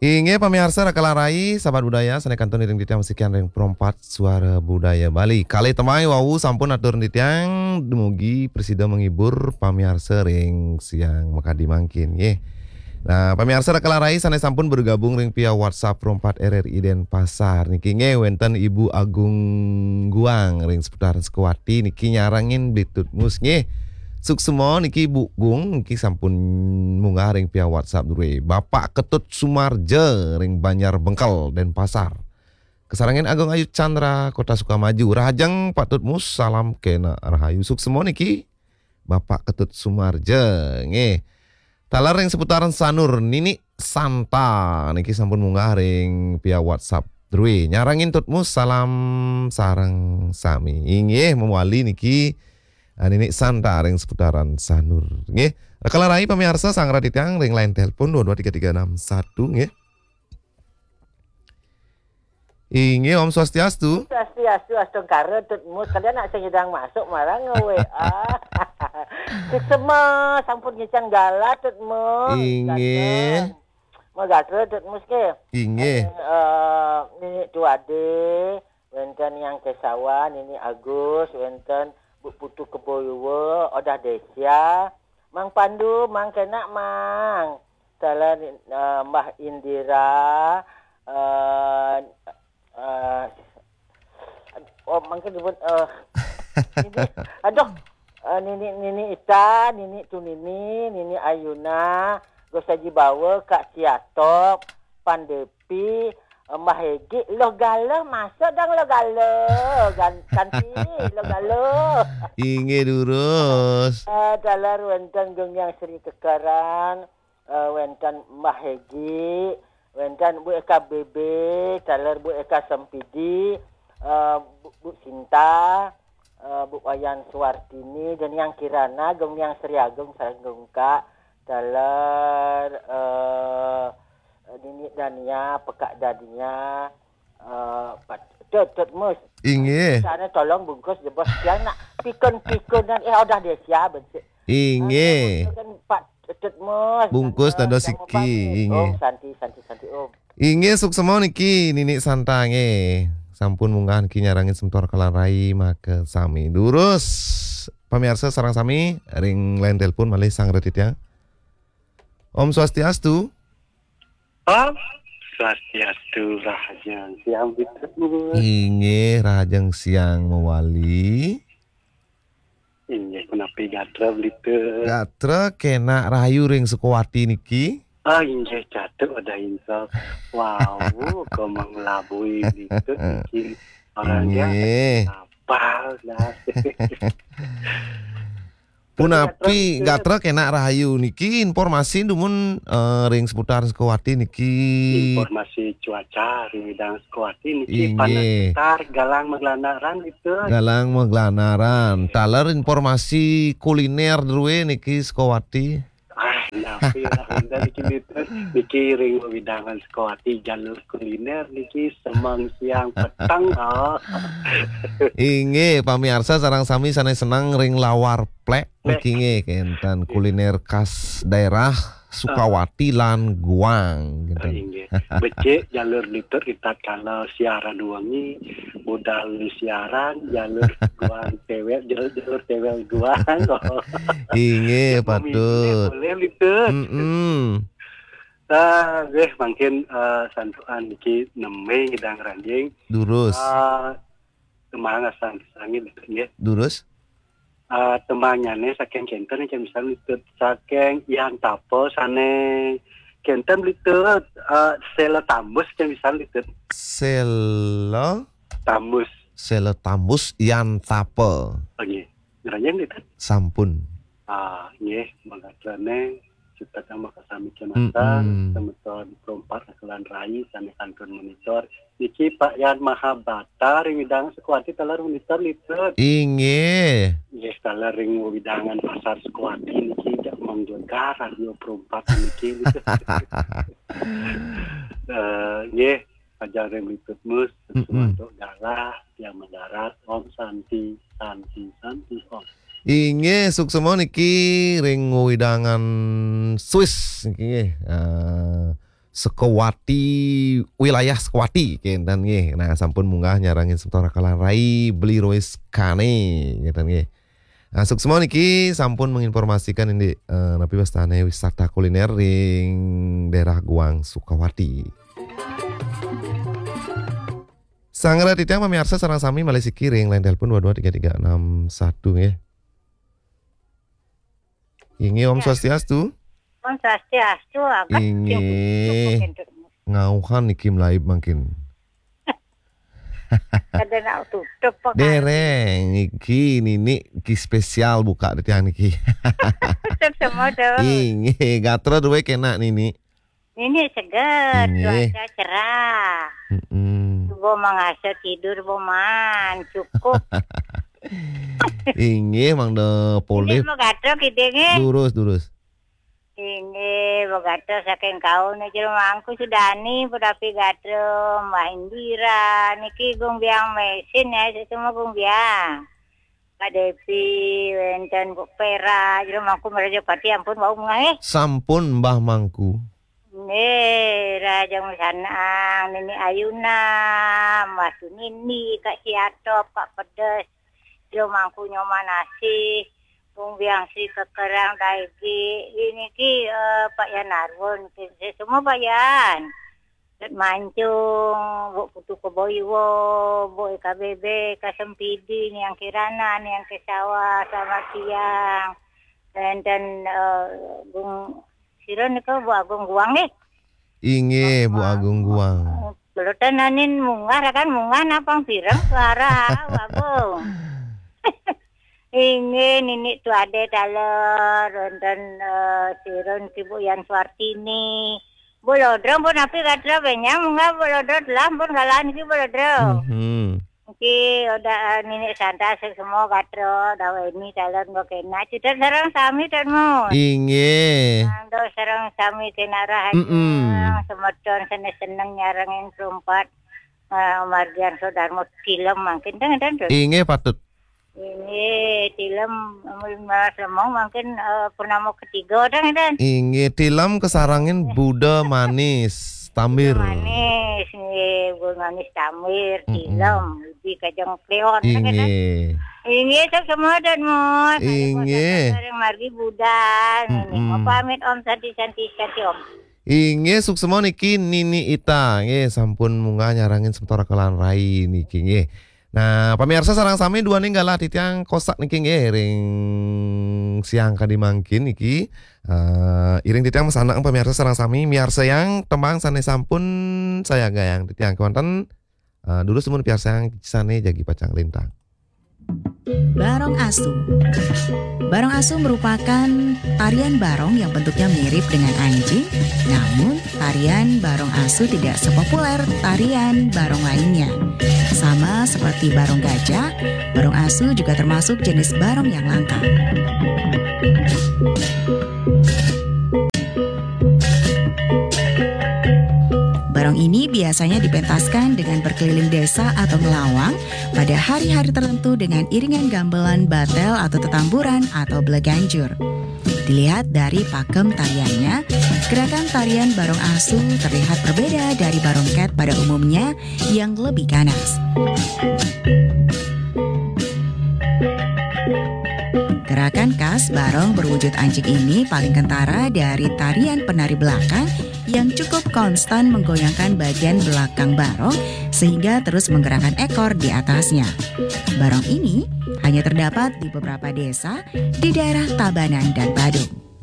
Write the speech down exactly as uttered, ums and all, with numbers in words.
Inggih pamiarsa Raka lan Rai, sahabat budaya, sané kantun iring titiang masikian ring Pro empat Suara Budaya Bali. Kalih tembang wau sampun atur titiang, dumugi prasida menghibur pamiarsa ring siang makadi mangkin, nggih. Nah, pamiarsa Raka lan Rai sané sampun bergabung ring via WhatsApp Pro empat R R I Denpasar niki, nggih, wénten Ibu Agung Guang ring seputaran Sukawati niki nyarengin Bli Tutmus, nggih. Suksma niki Bu Gung niki sampun munggah ring via WhatsApp drué. Bapak Ketut Sumarja ring Banjar Bengkel, Denpasar. Kasarengin Agung Ayu Chandra, Kota Sukamaju. Rahajeng Pak Tutmus, salam kénak rahayu. Suksma niki Bapak Ketut Sumarja, nggih. Taler ring seputaran Sanur, Nini Santa niki sampun munggah ring via WhatsApp drué. Nyarengin Tutmus, salam sareng sami. Inggih, mawali niki, ah, Nini Santa ring seputaran Sanur, nggih. Raka lan Rai pamiarsa, sareng titiang ring line telepon dua dua tiga tiga enam satu, nggih. Inggih, Om Swastiastu. Swastiastu, astungkara, Tutmus. Kalian nak sing nyidang masuk marang nge-W A. Suksma, sampun ngicang galah, Tutmus. Inggih. Gatra. Mau gatra, Tutmus, ke? Inggih. Eh, eh, Nini Tuade, wénten Yang Kesawan, Nini Agus, wénten Bu Putu Keboyuwa, Odah Desya, Mang Pandu, Mang Kenak, Mang. Taler, eh, Mbah Indira, eh, eh, oh, mangkin nyebut, eh, Nini, aduh, eh, Nini, Nini Ita, Nini Tunini, Nini Ayuna, Gus Haji Bawa, Kak Ciatok, Pandepi, eh, Mbah Egi, Loh Gala, masa dang Loh Gala, gan-, kanti Loh Gala. Inggih durus. Eh, taler wénten Gung Yang Sri Kekeran, eh, wénten Mbah Hegi, wénten Bu Eka B B, taler Bu Eka Sempidi, eh, Bu, Bu Sinta, eh, Bu Wayan Suwartini, Deniang Kirana, Gung Yang Sri Agung, sareng Gung Kak, taler, eh, Nini Dania, Pekak Dania, eh, Pat-, Tut, Tut Mus. Inggih. Sana tolong bungkus jebos tiang nak pikun-pikunan, eh, Odah Desya, bencik. Inggih. Ah, kan Pak Tut Mus, bungkus sana dados yang siki, mubang. Inggih. Om Santi, Santi, Santi, Om. Inggih, suksma niki Nini Santa, nggih. Sampun munggah niki nyarengin semeton Raka lan Rai makasami. Durus, pamiarsa sareng sami ring line telepon malih, sareng titiang. Om Swastiastu. Om Swastiastu, rahajeng siang, Bli Tutmus. Inggih, rahajeng siang mawali. Inggih, punapi gatra, Bli Tut? Gatra kénak rahayu ring Sukawati niki. Ah, inggih, catuh Odah Insok. Wau, kok manglabui Bli Tut niki. Orangnya inggih. Apal dah. Punapi gatra, gatra kénak rahayu niki, informasi dumun, eh, ring seputar Sukawati niki. Informasi cuaca ring widang Sukawati niki, inggih, panas sekitar, galang maglanaran gitu. Galang maglanaran. Taler informasi kuliner drué niki Sukawati. Ah, napi lah, udah niki, Bli Tut. Niki ring wewidangan Sukawati, jalur kuliner niki semeng siang peteng, oh. Inggih, pamiarsa sareng sami sané seneng ring lawar plék. Niki nggih, kénten kuliner khas daerah Sukawati lan Guang, kénten. Inggih. Becik jalur Bli Tut ritatkala siaran wengi, budal siaran, jalur Guang Téwél, jalur, jalur Téwél Guang. Inggih, patut. Boleh, Bli Tut. Mm-mm. Ah, nggih, mangkin, eh, santukan niki nembé ngidang ranjing. Durus. Ah, tembang asan sangin, nggih. Durus. Ah, tembangnyané saking kénten, saking pisan, Bli Tut, saking Yang Tapa sané kénten, Bli Tut, ah, Séla Tambus, saking pisan, Bli Tut. Séla Tambus. Séla Tambus Yang Tapa. Oh, nggih. Ngranjing, Bli Tut? Sampun. Ah, nggih, mangkané Cipta makasami kematan, mm-mm, semeton Pro empat Raka lan Rai sané kantun monitor. Niki Pak Yan Mahabata ring widang Sukawati taler monitor, Bli Tut. Inggih. Inggih, taler ring wewidangan Pasar Sukawati niki jak manggegar radio Pro empat niki, Bli Tut. Eh, nggih, ajeng ring Bli Tut Mus, mm-mm, sumantuk galah, tiang mendarat, Om Santi, Santi, Santi, Om. Inggih, suksma niki ring wewidangan Swiss niki nggih. Eh, Sukawati, wilayah Sukawati, kinten nggih. Nah, sampun munggah nyarengin semeton rakalan rai, Beli Rois Kane, kinten nggih. Nah, suksma niki sampun menginformasikan indik, eh, napi wastane wisata kuliner ring daerah Guang Sukawati. Sanget titiang pamiarsa sareng sami malih siki ring line telepon dua dua tiga tiga enam satu nggih. Inggih, Om Ya. Swastiastu. Om Swastiastu, Abah. Inggih. Sing tutup, sing tutup. Ngauhan niki mlaib mangkin. Kada nak tutup, Pak. Dereng, niki nini ki spesial buka titiang niki. Tutup semua tu. Inggih, gatra duwe kena nini. Nini seger, Inggih. Cuaca cerah. Mm-mm. Suba mangasa tidur, Boman. Cukup. Inggih, mangda polih. Inggih, mau gatra kidinge. Durus, durus. Inggih, mau gatra saking kaul niki Mangku Sudani, punapi gatra Mbah Indira. Niki Gung Biang Mesin ya, sesama Gung Biang. Pak Depi, wenten Bu Pera, jero Mangku Merajapati ampun wau munggah, eh. Sampun, Mbah Mangku. Nggih, Raja Musanang, Nini Ayuna, Mbah Sunindi, Kak Siatop, Kak Pedes, jero Mangku Nyoman Asih, Bung Biang Sri Kekerang, Daigi, ini ki, eh, Pak Yan Arwun, ki, semua Pak Yan. Ket Mancung, Bu Putu Keboiwo, Bu E K B B, Kasempidi, Niang Kirana, Niang Kesawa, selamat siang. Wenten, eh, Gung, sira nika Bu Agung Guang nggih. Inggih, Bu Agung Guang. Kelutan anin munggah, kan munggah napang pireng suara, Bu Agung. Inggih, Nini Tuade taler, wenten, eh, sira niki Bu Yan Suartini. Bu Lodro pun api gatra benyang, munggah Bu Lodro telah pun galah niki Bu Lodro. Mhm. Niki udah, eh, Nini Santa semua gatra, dawa ini taler mbok kena. Cita sareng sami, Tan Mun. Inggih. Mangda sareng sami kena rahayu, Mm-mm. Semeton seneng-seneng nyarengin perumpat, eh, margian Sodarmo tilem mangkin, Tan, Tan, Tan. Inggih, patut. Inggih, tilem, Mas Lemong mangkin, eh, purnama ketiga, Tan, Tan. Inggih, tilem kasarengin Buda Manis, Tambir. Manis, nggih, Bu Manis Tambir, Mm-mm. Tilem, Budi Kajeng Kleon, Tan, Tan. Inggih. Inggih, sok semua, Tan Mun. Inggih. Sareng margi budal, nggih. Mm-mm. Mau pamit, Om, santi, santi, santi, Om. Inggih, suksma niki Nini Ita, nggih, sampun munggah nyarengin semeton rakalan rai niki, nggih. Nah, pamiarsa sareng sami duaning galah titiang kosak niki, nggih, ring siang kadi mangkin niki. Eh, iring titiang masandekan pamiarsa sareng sami, miarsayang tembang sane sampun sayagayang titiang kewanten. Eh, durus dumun piarsayang sane jagi pacang lintang. Barong Asu. Barong Asu merupakan tarian barong yang bentuknya mirip dengan anjing, namun tarian Barong Asu tidak sepopuler tarian barong lainnya. Sama seperti barong gajah, Barong Asu juga termasuk jenis barong yang langka. Barong ini biasanya dipentaskan dengan berkeliling desa atau ngelawang pada hari-hari tertentu dengan iringan gamelan batel atau tetamburan atau beleganjur. Dilihat dari pakem tariannya, gerakan tarian Barong Asu terlihat berbeda dari barong ket pada umumnya yang lebih ganas. Gerakan khas barong berwujud anjing ini paling kentara dari tarian penari belakang yang cukup konstan menggoyangkan bagian belakang barong sehingga terus menggerakkan ekor di atasnya. Barong ini hanya terdapat di beberapa desa di daerah Tabanan dan Badung.